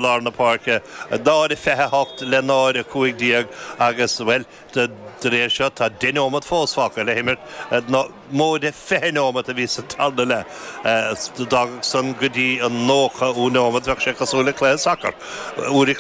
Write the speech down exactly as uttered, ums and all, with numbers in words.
Lár na páirce náid a fiche hocht le náid a cúig déag agus bhuel de réir seo tá deich nóiméad fós fágtha le himirt móide fiche nóiméad a bhí sa tarna leath. D'fhágfadh san go dtí an nócha nóiméad bheadh sé cosúil le cluiche sacair. Uair